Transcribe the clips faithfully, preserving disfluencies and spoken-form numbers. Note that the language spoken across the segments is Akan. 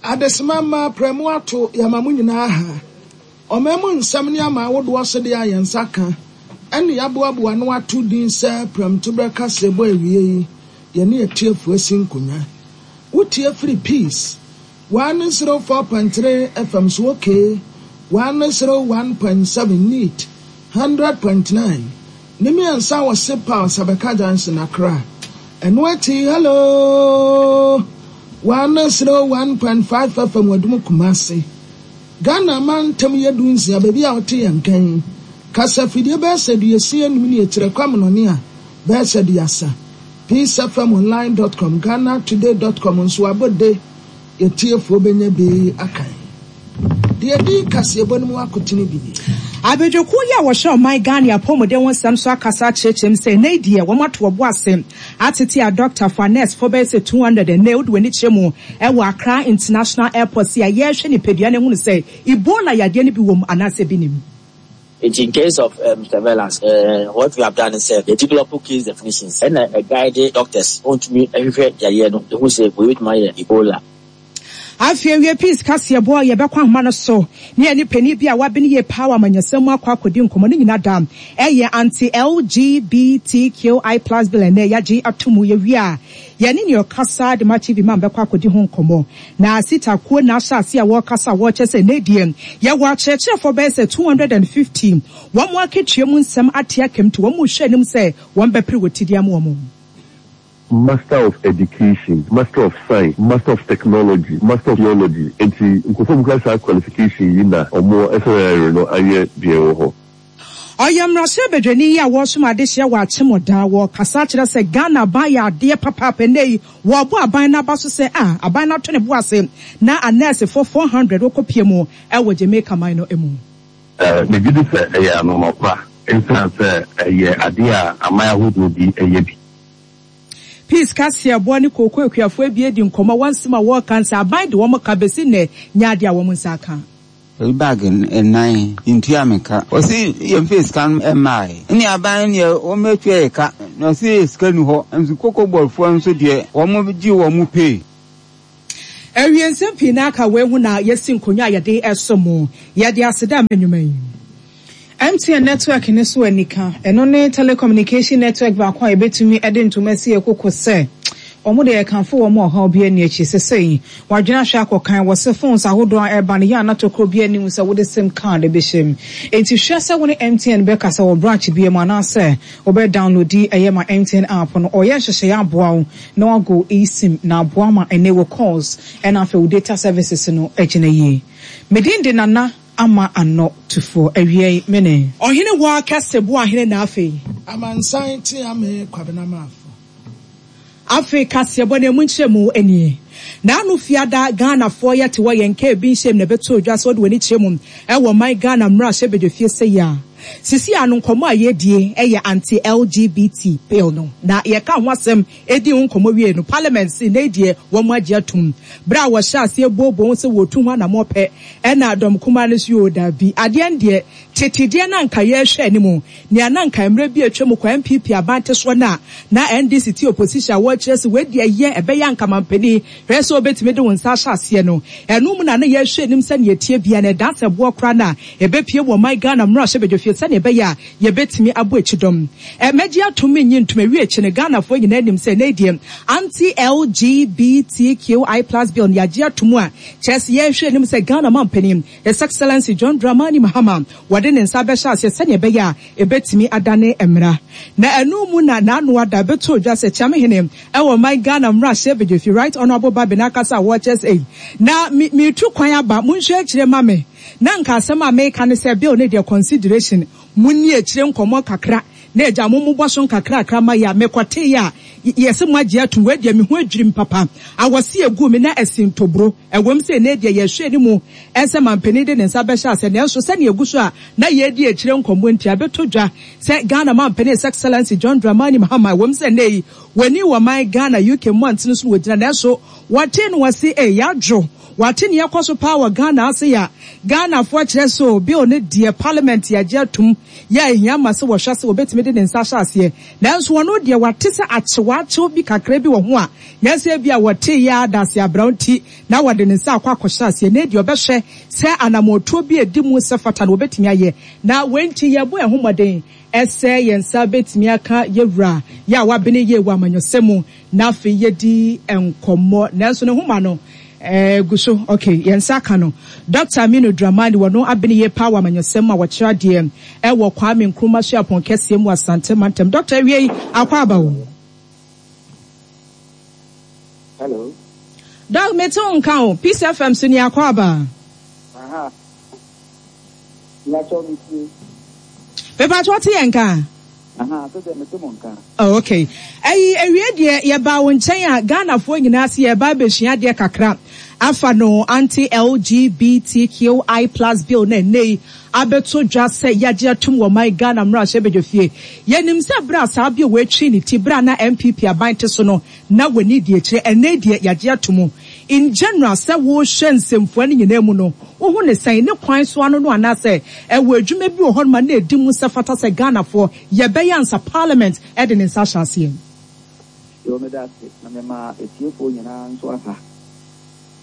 Adesima mma prɛmo ato yɛma mo nyinaa ha. Ɔman mu nsɛm ne ama awodoɔ so deɛ a yɛn nsa ka ɛne yɛaboaboa no ato din sɛ prɛmtoberɛ kaseɛbɔ awie yi, yɛne atiefoɔ asi nkonnwa. Wotie firi Peace one zero four point three F M so, okay, one zero one point seven, Neat one hundred point nine ne mmiɛnsa wɔ Sepal Sabeka Junction, Accra. Ɛno akyi, Hello one zero one point five F M Wadum, Kumase. Ghana mantam yɛ du nsia, baabi a wɔte yɛn nkan kasafidie bɛyɛ sɛ duasia enum ne akyerɛ kwamenɔne a bɛyɛ sɛ duasa. peace F M online dot com, Ghana Today dot com nso abɔde yɛtiefoɔ bɛnya bi akan deɛ di kaseɛbɔ no mu akotene bi nie. Abadwakuo yi a wɔhyɛ ɔman Ghana apɔmuden ho nsɛm so akasa akyerɛkyerɛm sɛ ɛnɛ deɛ wɔn ato ɔbo ase atete a doctor fo a nurse fo bɛyɛ sɛ two hundred. Ɛnɛ wode w'ani kyerɛ mu ɛwɔ Accra International Airport si a yɛrehwɛ nipadua no ehunu sɛ Ebola yadeɛ no bi wɔ mu anaasɛ bi nim. In case of um, surveillance, uh, what we have done is uh, they develop case definitions and uh, guide doctors ontumi ɛhwehwɛ yareɛ no ehu sɛ wei betumi ayɛ Ebola. Afei awie Peace kaseɛbɔ a yɛbɛkɔ ahoma no so ne yɛne panin bi a wabene yie paa wɔ amanyɔsɛm mu akɔ akɔdi nkɔmmɔ no nyina da ɛyɛ anti L G B T Q I plus bill ɛnɛ yɛagye ato mu. Yɛwie a, yɛne nea ɔkasa de ma T V man bɛkɔ akɔdi ho nkɔmmɔ na sitakuo na ahyɛ ase a wɔrekasa a wɔrekyɛ sɛ ɛnɛ deɛ yɛwɔ akyerɛkyerɛfoɔ bɛyɛ sɛ two hundred and fifty, wɔn mo akatua mu nsɛm ate akam, nti wɔn mo hwɛ anim sɛ wɔn bɛpere wɔ tidie ama wɔn. Master of Education, Master of Science, Master of Technology, Master of Theology. Nti nkurɔfoɔ mu kura saa qualification yi na ɔmo ɛsɛ no ayɛ deɛ ɛwɔ hɔ. Ɔyɛ mmarahyɛ badwani yi a wɔresom adehyɛ wɔ Akyemɔda. Wɔkasa kyerɛ sɛ Ghana aban yɛ adeɛ papaapa. Nnɛ yi wɔrebɔ aban no aba so sɛ a aban no ato ne bo ase na anɛɛsefoɔ four hundred wɔkɔpie mu ɛwɔ Jamaica man no mu. Megye di sɛ ɛyɛ anɔnɔpa ɛnsiane sɛ ɛyɛ adeɛ a aman ahodoɔ bi ɛyɛ bi. Peace kaseɛboɔ ne kooko akuafoɔ abie di nkɔmmɔ. Wɔn nsɛm a wɔreka nsɛ aban de wɔn ka bɛsi nnɛ nyɛ adeɛ a wɔn nsa aka. Oyi bag nnan ntua me ka, ɔsi yɛmfa sika no mmae ne aban deɛ wɔmɛtua yɛ ka na ɔsi sika ni hɔ nso. Cocoa Boardfoɔ nso deɛ wɔn gye wɔn pay. Awie nsɛm pii na aka wei ho na yɛsi nkonnwa a yɛde ɛso mu. Yɛde aseda ma nnwuma yi. M T N network ne so anika, ɛno ne telecommunication network baako a yɛbɛtumi de ntoma si ɛkoko sɛ wɔn de yɛkamfo wɔn ɔhaw bi ani akyi sesei wadwene ahwɛ akɔkan wɔ se phones ahodoɔ a ɛba no yɛ anatokuro bi anim sɛ wode SIM card bɛhyɛ mu. Enti hwɛ sɛ wo ne M T N bɛkasa wɔ branch bi mu anaasɛ wobɛ download ɛyɛ ma M T N app no. Ɔyɛ nhyehyɛeɛ aboa wo na wago eSIM na aboa ma ɛnɛ wɔ calls ɛna afei wo data services no agyina yie. Medin de Nana Ama Anɔ Tufoɔ. Awie mene ɔhene wɔ akɛse bo ahene na afei Amansan te ame Kwabena Maafo. Afei kaseɛbɔ no emu nkyerɛ nie. N'ano fiada Ghanafoɔ yɛte hɔ yɛn nka ebi nhyɛm na ɛbɛto odwa sɛ wɔde wɔn ani kyerɛ mu ɛwɔ man Ghana mmarahyɛ badwafie sɛ yi a sisi ano nkɔmɔ a yɛdie ɛyɛ anti L G B T bill no na yɛka ho asɛm edi ho nkɔmɔ wie no, parliament si na deɛ wɔn agye atum bere a wɔhyɛ aseɛ booboo ho sɛ wɔtu ho anamɔ pɛ, ɛna dɔm kumaa no so yɛ odabi adeɛ no deɛ tetedeɛ na nka yɛrehwɛ anim nea na nka mmerɛ bi atwa mu kɔ N P P aban te soɔ no a na N D C te opposition a wɔrekyerɛ sɛ wɔadi ɛyɛ ɛbɛyɛ ankamanpanin hwɛ sɛ wobɛtumi de wo nsa ahyɛ aseɛ no, ɛno mu na ne yɛhwɛ anim sɛ neɛ tie bia no ɛda sɛ boɔ koraa no a ɛbɛpie wɔ ɔman Ghana mmarahyɛ badwafie sɛneɛ ɛbɛyɛ a yɛbɛtumi abɔ akyi dɔm. Ɛmɛgye atom nyi ntom awie akyi no, Ghanafoɔ nyinaa anim sɛ ɛnɛ deɛ anti L G B T Q I plus bill no yɛagye atom a kyerɛ sɛ yɛhwɛ anim sɛ Ghana mampanin, His Excellency John Dramani Mahama, wɔde ne nsa bɛhyɛ aseɛ sɛneɛ ɛbɛyɛ a ɛbɛtumi adane mmara. Na ɛno mu na n'ano ada bɛto dwa sɛ Kyiamehene ɛwɔ man Ghana mmarahyɛ badwafi, Right Honourable Bagbin, akasa a wɔkyerɛ sɛ na metu kwan aba, monhwɛ akyire ma me na nka asɛm a meka ne sɛ bill ne deɛ consideration munni akyire nkɔmmɔ kakra na agya mo mobɔ so nkakrakra ma yɛ a mekɔtee a yɛsɛ mo agye atom. Wei deɛ me ho adwirim papa awɔse egu me na ɛsi ntoburo. Ɛwɔm sɛ ne deɛ yɛhwɛ anim ɛsɛ mampanin de ne nsa bɛhyɛ ase, nanso sɛnea egu so a na yɛdi akyire nkɔmmɔ nti abɛtɔ dwa sɛ Ghana mampanin, His Excellency John Dramani Mahama, ɛwɔm sɛ ne yi Wɔni wɔ man Ghana, U K mmɔntene so na wɔgyina, nanso wɔte no wɔse eh yɛadwo. Wɔate ne yɛkɔ so paa wɔ Ghana ase ya. Ghanafoɔ kyerɛ so bill ne deɛ parliament yɛagye atom yɛ ahia ma sɛ wɔhwɛ sɛ wɔbɛtumi de ne nsa ahyɛ aseɛ. Nanso wɔno deɛ wɔate sɛ akyewakyew bi kakra bi wɔ ho a nyɛsɛ bi a wɔte yɛ adase abrɛw nti na wɔde ne nsa akɔ akɔhyɛ aseɛ. Na deɛ ɔbɛhwɛ sɛ anammɔntuo bi edi mu sɛ fata no wɔbɛtumi ayɛ. Na wɔnti yɛbɔ ɛho mmɔden ɛsɛ yɛn nsa bɛtumi aka yɛwura yɛ a wabene yie wɔ amanyɔsɛm mu na afei yɛdi nkɔmmɔ. Nanso ne homa no Eh, guso, okay, yɛn ka no. Doctor Aminu Dramani wɔno abene yie paa wɔ amanyɔsɛm a wɔkyerɛ adeɛ ɛwɔ Kwame Nkrumah Suapɔn kɛseɛ mu Asante Mantam. Doctor awie akɔ aba wo. Hello. Doc, mete wo nka o. Peace F M so ni akɔ aba. Aha. Nyakyɛ mi tie. Pepa to te yɛn ka. Aha, so de mete mo nka. Oh, okay. Ayi ewie deɛ yɛba wo nkyɛn a Ghanafoɔ nyinaa se yɛba abɛsua adeɛ kakra. Afa no anti L G B T Q I plus bill na nei abeto dwa sɛ yɛagye atom wɔ man Ghana mmarahyɛ badwafie. Yɛnim sɛ bra saa bi wɔatwi ne ti bra na N P P aban te so no na wani deɛ kyerɛ ɛnɛ deɛ yɛagye atom. In general sɛ wohwɛ nsɛmfua no nyinaa mu no wohu ne sɛn ne kwan so ano no anaasɛ ɛwɔ adwuma bi wɔ hɔ ma na ɛdi mu sɛ fata sɛ Ghanafoɔ yɛbɛyɛ ansa parliament ɛde ne nsa ahyɛ aseɛ. Yo, meda ase na mema etiefoɔ nyinaa nso aha.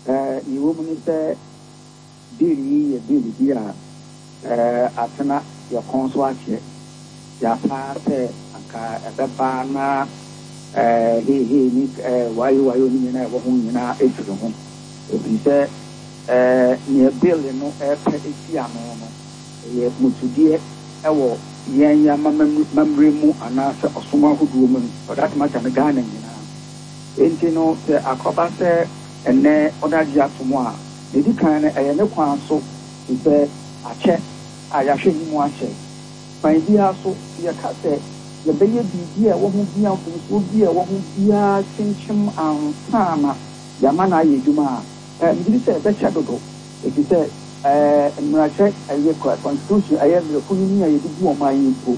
Eh, ne wɔ mu ne sɛ bill yi yɛ bill bi a eh, atena yɛ kɔn so akyɛ. Yɛapa sɛ anka ɛbɛba na eh, heihei ne eh, wayo wayo ne nyinaa ɛwɔ ho nyinaa ɛfiri ho. Ɛfiri sɛ eh, nea bill no ɛpɛ esi ano no ɛyɛ musudeɛ ɛwɔ yɛn yɛn amammerɛ mu anaasɛ ɔsom ahodoɔ mu no, for that matter no Ghana nyinaa. Enti no sɛ akɔba sɛ ɛnɛ ɔdagye ato mu a, ne di kan no ɛyɛ ne kwan so te sɛ akyɛ a yɛahwɛ anim akyɛ. Kwan biara so yɛka sɛ yɛbɛyɛ biribi a ɛwɔ ho bia mfomsoɔ bi a ɛwɔ ho biara kyinkyim ansa na yɛama no ayɛ adwuma a, megye di sɛ ɛbɛkyɛ dodo. Ɛfiri sɛ mmarahyɛ ɛyɛ constitution ɛyɛ mmerɛkunini a yɛde bu ɔman yi mpo.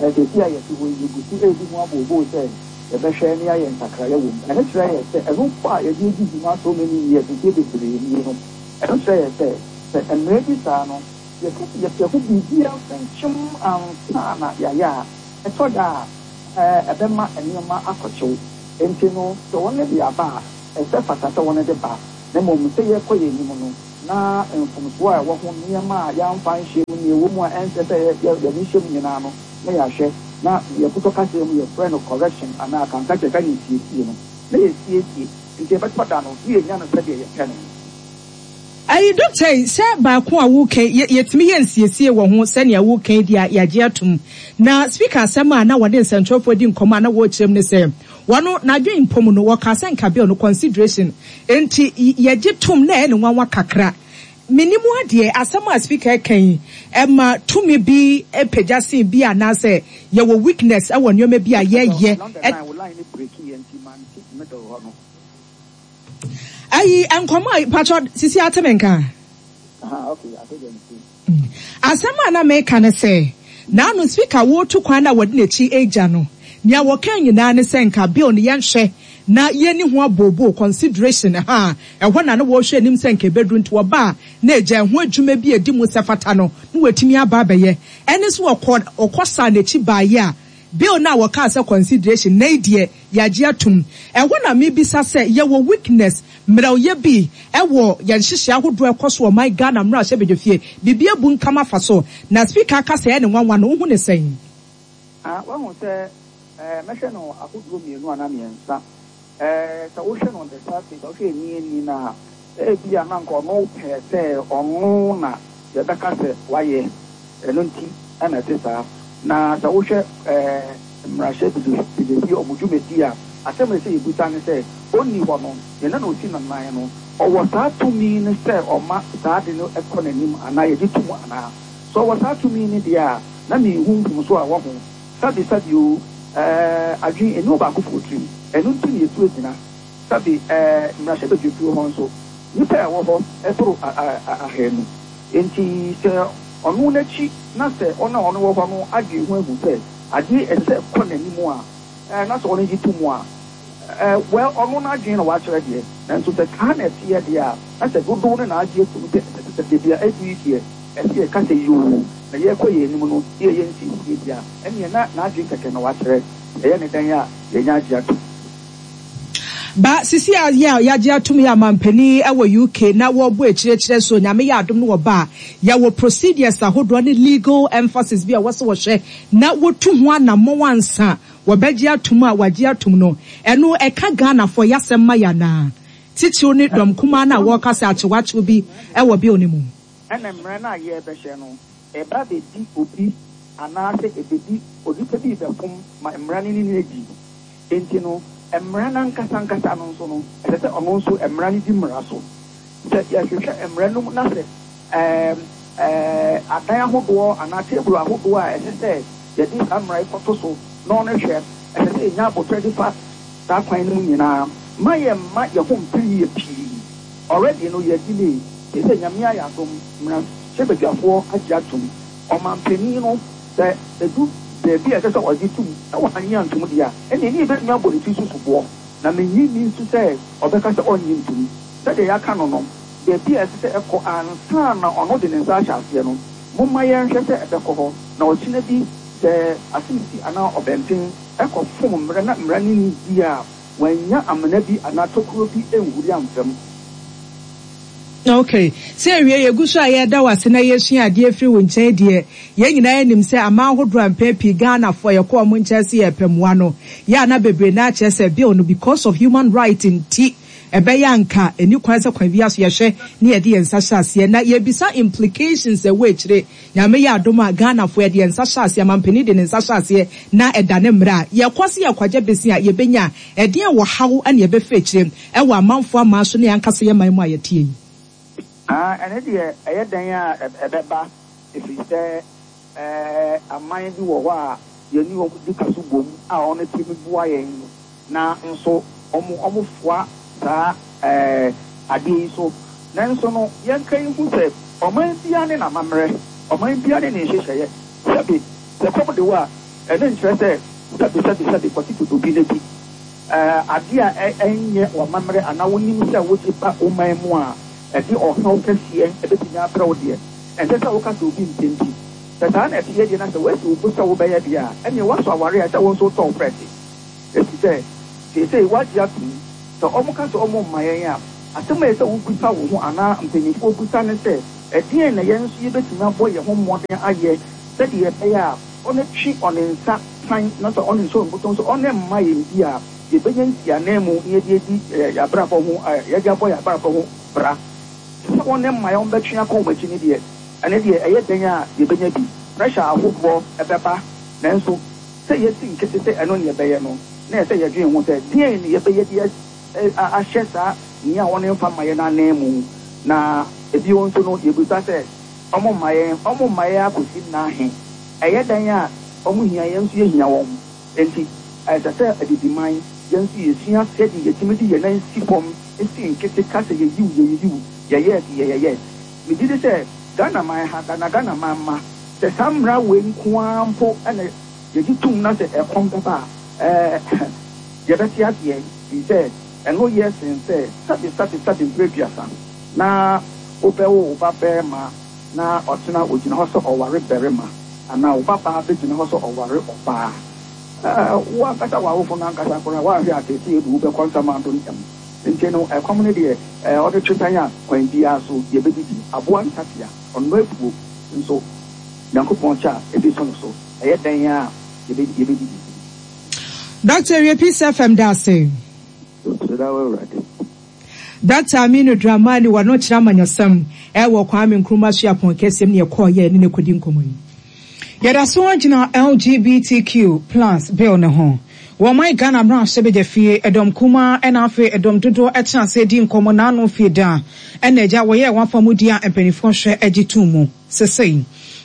Seesei a yɛte hɔ yi, yɛgu so redi ho abooboo sɛ yɛbɛhwɛ ne yɛayɛ nsakraeɛ wɔ mu. Ɛno kyerɛ yɛ sɛ ɛno mpo a yɛde adi dwuma so many years, mfeɛ bebree nie no, ɛno kyerɛ yɛ sɛ sɛ mmerɛ bi saa no, yɛka sɛ yɛpɛ ho biribiara mfɛnkyɛm ansa na yɛayɛ a, ɛtɔ da a ɛbɛma nneɛma akɔkyew. Enti no, sɛ wɔn de aba a, ɛsɛ fata sɛ wɔn de ba. Na mmom sɛ yɛkɔ yɛn anim no, na mfomsoɔ a ɛwɔ ho nneɛma a yɛamfa nhyɛ mu, nea ɛwɔ mu a ɛnsɛ sɛ yɛde hyɛ mu nyinaa no, na yɛahwɛ. Na yɛkotɔ kasa mu yɛfrɛ no correction anaa kankakyɛ ka ne siesie no, na yɛsiesie. Nti yɛbɛtɔ da no, na yɛnya no sɛdeɛ yɛpɛ no. Ayi doctor yi, sɛ baako a woka yɛtumi yɛ nsiesie wɔ ho sɛnea woka yi deɛ yɛagye atom. Na speaker asɛm a na wɔde nsɛntwerɛfoɔ di nkɔmmɔ a na wɔrekyerɛ mu ne sɛ wɔno n'adwene mpom no wɔka sɛ nka bill no consideration nti yɛgye tom na ɛyɛ ne nwanwa kakra. Minimu adeɛ asɛm a speaker ka yi ɛma tumi bi pagya sen bi anaasɛ yɛwɔ weakness ɛwɔ nneɛma bi a yɛyɛ. Ayi nkɔmmɔ a patro sisi ateme nka. Aha, okay, ate Asɛm a na meka ne sɛ na no speaker wɔtu kwan na wɔde n'akyi agya no nea wɔka nyinaa ne sɛ nka bill no yɛnhwɛ na yɛni ho abobo consideration ha ɛhɔ na na wɔhwɛ anim sɛ nka ebeduru nti wɔba a na agya ho adwuma bi edi mu sɛ fata no na wɔatumi aba abɛyɛ. Ɛne so wɔkɔ ɔkɔ saa n'akyi baayɛ a bill na wɔka sɛ consideration na deɛ yɛagye atom. Ɛhɔ na mebisa sɛ yɛwɔ weakness mmerɛwyɛ bi ɛwɔ yɛn nhyehyɛ ahodoɔ ɛkɔ so wɔ man Ghana mmarahyɛ badwafie biribi abu nkam afa so na speaker aka sɛ ɛne nwanwa no wohu ne sɛn? Ah, wahu sɛ mɛhwɛ no ahodoɔ mmienu anaa mmiɛnsa. Sɛ wohwɛ no on the surface, wohwɛ ani ani na ebi a na nka ɔno pɛ sɛ ɔno na yɛbɛka sɛ wayɛ. Ɛno nti ɛna ɛte saa. Na sɛ wohwɛ mmarahyɛ badwafie ɔmo dwumadi a, asɛm a ɛsɛ yɛbusa ne sɛ ɔnni hɔ no, yɛn na ɔsi nanan no, ɔwɔ saa tumi ne sɛ ɔma saa de no ɛkɔ n'anim anaa yɛgye tom anaa. So ɔwɔ saa tumi ne deɛ a, na mehu mfomso a ɛwɔ ho. Sabi sabi o, ɛɛ adwene ɛni ɔbaakofoɔ tirim. Ɛno nti na yɛtu agyina. Sabi ɛɛ mmarahyɛ badwafie hɔ nso, nnipa a ɛwɔ hɔ ɛboro ahanu. Nti sɛ ɔno n'akyi na sɛ ɔno a ɔno wɔ hɔ no adwene ho ahu sɛ adeɛ ɛsɛ sɛ ɛkɔ n'anim a, ɛɛ na sɛ ɔno gye to mu a, ɛɛ well, ɔno n'adwene na wakyerɛ deɛ, nanso sɛ saa na ɛteɛ deɛ a, na sɛ dodow no na agye atum sɛ ɛsɛ sɛ baabi a adu yi deɛ, ɛsɛ yɛka sɛ yoo, na yɛrekɔ yɛn anim no, na yɛyɛ nsiesie deɛ a, ɛnneɛ na n'adwene kɛkɛ na wakyerɛ. Ɛyɛ ne dan a yɛnya agye atom. Ba sisi a yɛ a yɛagye atom yɛ amampanin wɔ U K na wɔrebɔ akyirɛkyirɛ so Nyame yɛ adom no wɔba a, yɛwɔ procedures ahodoɔ ne legal emphasis bi a wɔsɛ wɔhwɛ na wɔtu ho anammɔn ansa wɔbɛgye atom a wɔagye atom no. Ɛno ɛka Ghanafoɔ yɛasɛm ma yɛ anaa? Titiriw ne dɔm kumaa no a wɔreka sɛ akyewakyew bi wɔ bill no mu. Ɛna mmerɛ no a yɛrebɛhyɛ no, ɛba bɛdi obi anaasɛ ɛbɛdi onipa bi bɛfom ma mmara no ne no adi. Enti no, mmara no ankasa ankasa no nso no, ɛsɛ sɛ ɔno nso mmara no di mmara so. Sɛ yɛhwehwɛ mmara no mu na sɛ ɛɛm ɛɛ adan ahodoɔ anaa table ahodoɔ a ɛsɛ sɛ yɛde saa mmara yi kɔto so na ɔno hwɛ, ɛsɛ sɛ yɛnya abotire de fa saa kwan no mu nyinaa ma yɛn mma yɛn ho mpere yie pii. Already no, yɛ delay te sɛ Nyame ayɛ adom, mmarahyɛbadwafoɔ agye atom. Ɔmampanin no, sɛ edu beebi a ɛsɛ sɛ ɔgye tum na wanyɛ antom deɛ a, ɛnna ɛni ebɛtumi abɔ ne ti so soboɔ, na menyi ni nso sɛ ɔbɛka sɛ ɔnnye ntom. Sɛdeɛ yɛaka no no, beebi a ɛsɛ sɛ ɛkɔ ansa na ɔno de ne nsa ahyɛ aseɛ no, momma yɛnhwɛ sɛ ɛbɛkɔ hɔ na ɔkyena bi sɛ asemsi anaa ɔbɛnten ɛkɔ fom mmerɛ na mmara no ni di a, wanya amena bi anaa tokuro bi nhuri amfam. Okay, sɛ awie yɛgu so a yɛda wo ase na yɛsua adeɛ firi wo nkyɛn deɛ, yɛn nyinaa anim sɛ aman ahodoɔ a mpɛn pii Ghanafoɔ yɛkɔ ɔmo nkyɛn sɛ yɛpɛ mmoa no, yɛ ana bebree na akyerɛ sɛ bill no, because of human right nti, ɛbɛyɛ anka ɛni kwan sɛ kwan bi aso yɛhwɛ ne yɛde yɛn nsa hyɛ aseɛ na yɛbisa implications ɛwɔ akyire. Nyame yɛ adom a, Ghanafoɔ yɛde yɛn nsa hyɛ aseɛ, mampanin de ne nsa hyɛ aseɛ na ɛda ne mmerɛ a yɛkɔ se yɛkɔgye besi a, yɛbɛnya ɛdeɛn wɔ haw ɛne yɛbɛfɛ akyire ɛwɔ amanfoɔ aman so ne yɛankasa yɛ man mu a yɛtie yi? Ah, ɛne deɛ ɛyɛ dan a ɛbɛba, ɛfiri sɛ ɛɛ aman bi wɔ hɔ a yɛne wɔn di kaso bom a wɔn tumi boa yɛn, na nso wɔn wɔn foa saa ɛɛ adeɛ yi so. Nanso no, yɛnka yi ho sɛ ɔman biara ne n'amammerɛ, ɔman biara ne ne nhyehyɛeɛ. Sɛbi, sɛ kɔm de wɔ a, ɛne nkyerɛ sɛ sɛbi sɛbi sɛbi kɔte dodo bi n'adi ɛɛ adeɛ a ɛnyɛ w'amammerɛ anaa wonim sɛ wogye ba ɔman mu a ɛde ɔhaw kɛseɛ ɛbɛtumi abrɛ wo deɛ, ɛnsɛ sɛ woka sɛ obi mpɛ. Sɛ saa na ɛteɛ deɛ, na sɛ woasi wo bo sɛ wobɛyɛ deɛ a, ɛneɛ woasɔ aware a ɛsɛ wo nso wotɔ wo prɛte, ɛfiri sɛ seesei woagye atom. Sɛ ɔmo ka sɛ ɔmo mma yɛn a, asɛm a ɛsɛ sɛ wobisa wo ho anaa mpanyinfoɔ bisa ne sɛ, ɛdeɛn na yɛn nso yɛbɛtumi abɔ yɛn ho mmɔden ayɛ sɛdeɛ ɛbɛyɛ a ɔno twe ɔne nsa san na sɛ ɔne nso mbotɔn so ɔne mma yɛn bi a, yɛbɛnya nsianan mu na yɛde adi yɛn abrabɔ ho, yɛde abɔ yɛn abrabɔ ho bra. Sɛ wɔn mma yɛn bɛtwe akɔ wɔn akyi ne deɛ, ɛne deɛ ɛyɛ dɛn a yɛbɛnya bi, pressure ahodoɔ ɛbɛba, nanso sɛ yɛsi nkete sɛ ɛno ne yɛbɛyɛ no, na yɛ sɛ yɛdwen ho sɛ deɛn ne yɛbɛyɛ de ahyɛ saa nea wɔn mfa mma yɛn anan mu. Na ebio nso no, yɛbisa sɛ ɔmo mma yɛn, ɔmo mma yɛn akɔsi nnahe? Ɛyɛ dɛn a ɔmo hia yɛn nso yɛhia wɔn, nti ɛsɛ sɛ adidiman yɛn nso yɛsua sɛdeɛ yɛtumi de yɛn nan si fam si nkete ka sɛ yɛyiw yɛyiw yɛyɛ yɛyɛyɛ. Megye di sɛ Ghana man ha, Ghana Ghana man ma sɛ saa mmara wei nko ara mpo ɛna yɛgye tum na sɛ ɛkɔm bɛba a, ɛɛ yɛbɛte aseɛ, firi sɛ ɛno yɛ sen sɛ sɛbi sɛbi sɛbi mpere aduasa na wobɛwo wo ba bɛrima na ɔtena ogyina hɔ sɛ ɔware barima anaa wo ba baa bɛgyina hɔ sɛ ɔware ɔbaa. ɛɛ wo ankasa w'awofo no ankasa koraa woahwɛ atete edu wobɛkɔ nsamando ntɛm. Nti no, ɛkɔm no deɛ, ɛɛ ɔde twe tan a, kwan biara so yɛbɛdidi. Aboa ntatea ɔno afuo nso, Nyankopɔn kyɛ a ebi so no so, ɛyɛ dɛn a yɛbɛdidi. Doctor wie, Peace F M da ase. Sɛda wɔ Awurade. Doctor Aminu Dramani, wɔno kyerɛ amanyɔsɛm ɛwɔ Kwame Nkrumah Suapɔn kɛseɛm ne yɛkɔɔyɛ ne ne kɔdi nkɔmmɔ yi. Yɛda so gyina L G B T Q plus bill ne ho. Wɔn Ghana mmarahyɛbadwa fie, ɛdɔm kumaa ɛna afei ɛdɔm dodoɔ ɛtena ase di nkɔmmɔ n'ano fie da ɛna agya wɔyɛ wɔn afa mu di a, mpanimfoɔ hwɛ agye tum mu. Sesei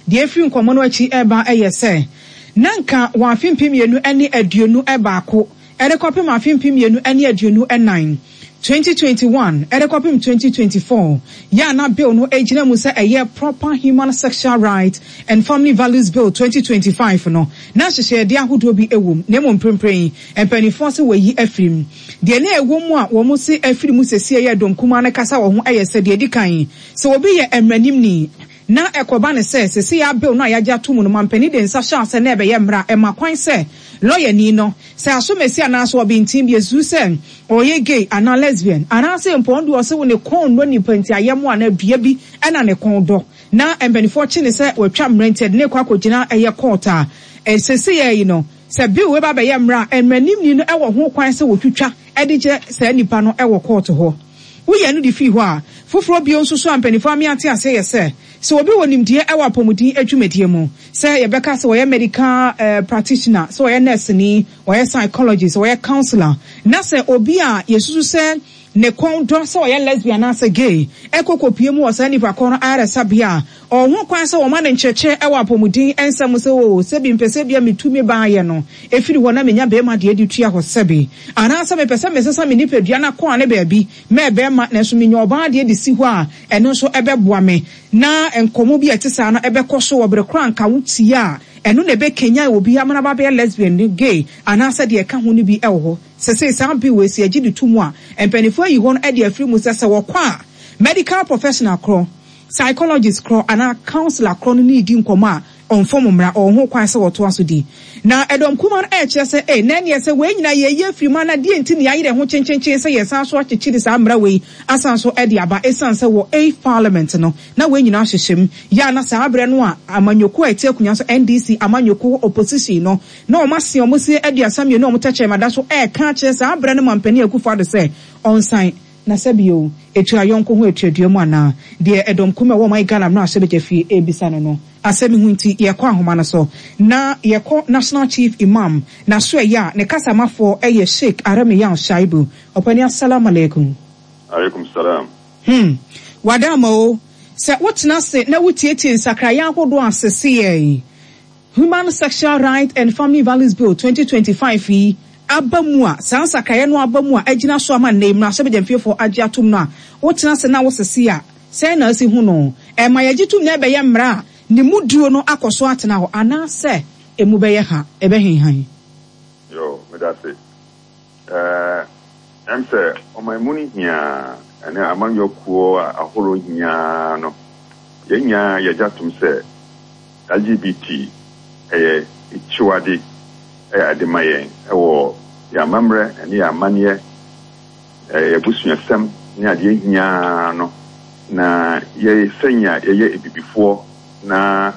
deɛ efiri nkɔmmɔ no akyi ɛreba ɛyɛ sɛ na nka wɔn afe mpem mmienu ne aduonu baako ɛde kɔpem afe mpem mmienu ne aduonu nan twenty twenty one ɛde kɔpem twenty twenty four yɛ a na bill no gyina mu sɛ ɛyɛ Proper Human Sexual Rights and Family Values Bill twenty twenty five no, na nhyehyɛeɛdeɛ ahodoɔ bi wɔ mu, na mmom mprempren mpanimfoɔ se wɔayi afiri mu. Deɛ na ɛwɔ mu a wɔn se afiri mu sesie yɛ dɔm kumaa no kasa wɔ ho yɛ sɛ, deɛ ɛdi kan, sɛ obi yɛ mmaranimni na ɛkɔba no sɛ seesei a bill no a yɛagye ato mu no mampanin de nsa hyɛ ase na ɛbɛyɛ mmara a, ɛma kwan sɛ lɔyani no, sɛ asomasi anaasɛ ɔbenten bi asusu sɛ ɔyɛ gay anaa lesbian, anaasɛ mpo ɔno deɛ ɔse wo ne kɔn nnɔ nipa nti ayɛmmoa anaa dua bi na ne kɔn dɔ, na mpanimfoɔ kye no sɛ watwa mmara nti ɛde no rekɔ akɔgyina ɛyɛ court a, seesei yi no, sɛ bill wei ba bɛyɛ mmara a, mmaranimni no wɔ ho kwan sɛ wɔtwitwa de kyerɛ saa nipa no wɔ court hɔ. Woyɛ no de fii hɔ a, foforɔ bio nso so a mpanimfoɔ ame ate aseɛ yɛ sɛ, sɛ obi wɔ nimdeɛ wɔ apɔmuden adwumadie mu, sɛ yɛbɛka sɛ ɔyɛ medical practitioner, sɛ ɔyɛ nɛɛseni, ɔyɛ psychologist, ɔyɛ counsellor, na sɛ obi a yɛsusu sɛ ne kɔn dɔ sɛ ɔyɛ lesbian anaasɛ gay kɔ kɔpue mu wɔ saa nipa korɔ no ayaresabea a, ɔwɔ ho kwan sɛ wɔma no nkyerɛkyerɛ wɔ apɔmuden nsɛm mu sɛ, Oo, sɛbi mepɛ sɛ ebia metu me baayɛ no firi hɔ na menya barima deɛ de tua hɔ sɛbi, anaasɛ mepɛ sɛ mesesa me nipadua no akɔ ane baabi mɛ barima nanso menya ɔbaa deɛ de si hɔ a, ɛno nso bɛboa me. Na nkɔmmɔ bi a ɛte saa no bɛkɔ so wɔ bere koro a anka wotie a, ɛno na ɛbɛkanyan obi ama no aba abɛyɛ lesbian, gay, anaasɛ deɛ ɛka ho no bi wɔ hɔ. Seesei saa bill wei, sɛ yɛgye de to mu a, mpanimfoɔ ayi hɔ no de afiri mu sɛ, sɛ wɔkɔ a, medical professional korɔ, psychologist korɔ, anaa counsellor korɔ no ne redi nkɔmmɔ a, ɔmfom mmara, ɔwɔ ho kwan sɛ wɔtoa so di. Na ɛdɔm kumaa no rekyerɛ sɛ, Ei, na ɛnneɛ sɛ wei nyinaa yɛreyi afiri mu a, na deɛn nti na yɛayere ho kyenkyenkyen sɛ yɛresan so akyekyere saa mmara wei asan so de aba? Ɛsiane sɛ wɔ Eighth Parliament no, na wei nyinaa hyehyɛ mu. Yɛ a na saa berɛ no a amanyɔkuo a ɛte akonnwa so, N D C amanyɔkuo opposition no, na wɔn ase wɔn se aduasa mmienu a wɔn tɛkyerɛma da so reka akyerɛ saa berɛ no Mampanin Akufo-Addo sɛ ɔnsan. Na sɛ bio, etua yɔnko ho atuadua mu anaa? Deɛ ɛdɔm kumaa a ɛwɔ ɔman Ghana mmarahyɛbadwa fie rebisa no no. Asɛm yi ho nti, yɛkɔ ahoma no so na yɛkɔ National Chief Imam n'asoɛeɛ a ne kasamafoɔ yɛ Sheik Aramiyaw Shaibu. Ɔpanin Assalam Alaikum. Alaikum Salam. Hmm. Wada ama o. Sɛ wotena ase na wotietie nsakraeɛ ahodoɔ a seseɛ Human Sexual Rights and Family Values Bill twenty twenty five yi aba mu a, saa nsakraeɛ no aba mu a agyina so ama nnɛ yi mmarahyɛbadwamfiefoɔ agye atom no a, wotena ase na wosese a, sɛn na asi hu no? Ɛma yɛgye tom na ɛbɛyɛ mmara a ne mu duro no akɔ so atena hɔ anaasɛ emu bɛyɛ ha, ɛbɛhenhan? Yo, meda ase. Ɛɛ, ɛm sɛ ɔman mu no hia ɛne amanyɔkuo ahorow hia no, yɛn nyinaa yɛgye atom sɛ L G B T ɛyɛ akyiwade ɛyɛ ade ma yɛn ɛwɔ yɛn amammerɛ ɛne yɛn amanneɛ, ɛyɛ abusuasɛm ne adeɛ hia no, na yɛ sɛnea yɛyɛ abibifoɔ na